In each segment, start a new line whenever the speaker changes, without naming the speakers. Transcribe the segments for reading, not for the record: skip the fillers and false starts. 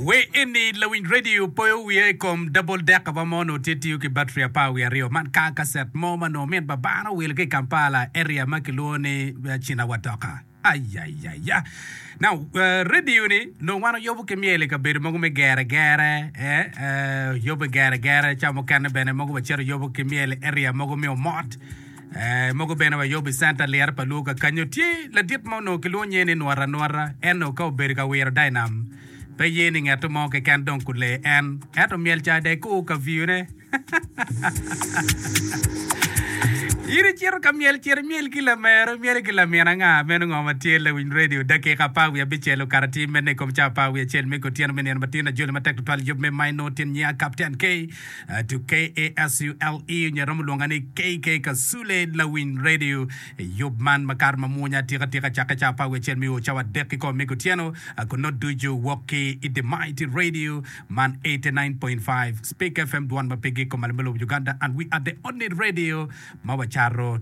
Wer eni lawiny radio poyo wiya i kom double decker wa mo onongo tye tiyo ki battery 12. Man car cassette mo ma onongo min babana owilo ki i Kampala area ma kilwongo ni Chinawatoka. Ayayaya. Now, radio ni nongo wan oyubo ki myel i kabedo mogo me gere gere, eh, eh, oyubo i gere gere, ca mukene bene mogo wacito oyubo ki myel i area mogo me omot. Eh, mogo bene wayubo i centa lira pa luo kakanyo. Tye ladit ma onongo kilwongo nyinge ni Nwota Nwota, en onongo ka obedo ka wiro dainam, pe ye ni ngeto mo keken dong kule en, ento myel ca dong ikur ka viyone. In icito ka myel, cit imyel ki lamero, imyelo ki lamin anga? Meno ngo ma tye lawiny radio? Dakika apar wiye abicel okato atir mene i kom cawa apar wiye acel me kutyeno me nino matin. Ajoli matek tutwal yub me Maino tyen nyinga Kapten K. To KASULE onyo iromo lwonga ni KK Kasule Lawiny Radio. Yub man makato ma mwonya atika tika cakke cawa 11 me o cawa adek ki kome me kutyeno kun nongo ducu wok ki i The Mighty Radio man 89.5 Speak FM dwon ma pe gik kumalo me lobo Uganda and we are the only radio ma wacato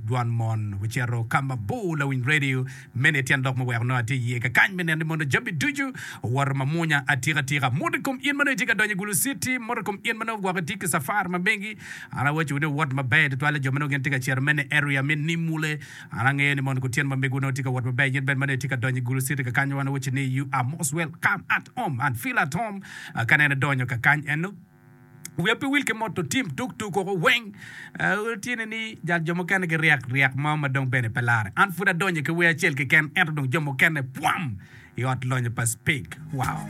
dwon mon wacito ka mabor Lawiny Radio. Meno aye tyen lok muweko nongo atye iye kakany me neno ni mono jami ducu owoto ma mwonya atika tika. Mot i kom in ma nongo itye ka donyo i Gulu City, mot i kom in ma nongo gwok itye ki cafar ma megi. An awacowu ni wuwot maber tutwalle jo ma nongo gin tye ka cito meno i area me Nimule. An angeyo ni mono kutyeno ma megwu nongo tye ka wot maber. In bene ma nongo itye ka donyo i Gulu City kakany wan awaco ni you are most welcome at home and feel at home ka nene idonyo kakany eno. Wiya pe wil ki moto tim tuk tuk koko weng. Tyene ni jal jo mukene giryek ryek mo ma dong bene pe lare. An pud adonyo ki wer acel keken ento dong jo mukene pwam i ot lonyo pa Speke. Wow.